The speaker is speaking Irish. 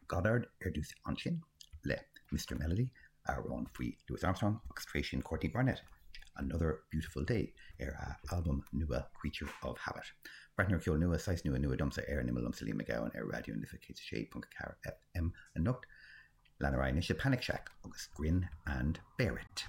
Goddard ar dtús ansin le Mister Melody, amhrán faoi Louis Armstrong, agus tar éis sin Courtney Barnett, Another Beautiful Day ar a albam nua Creature of Habit. Breathnú ar cheol nua, saghas nua nua domsa ar an Imeall liomsa Liam Mac Gabhann ar Raidió na Life 106.4 FM anocht. Lean ar aghaidh anois le Panic Shack agus Grin and Bear It.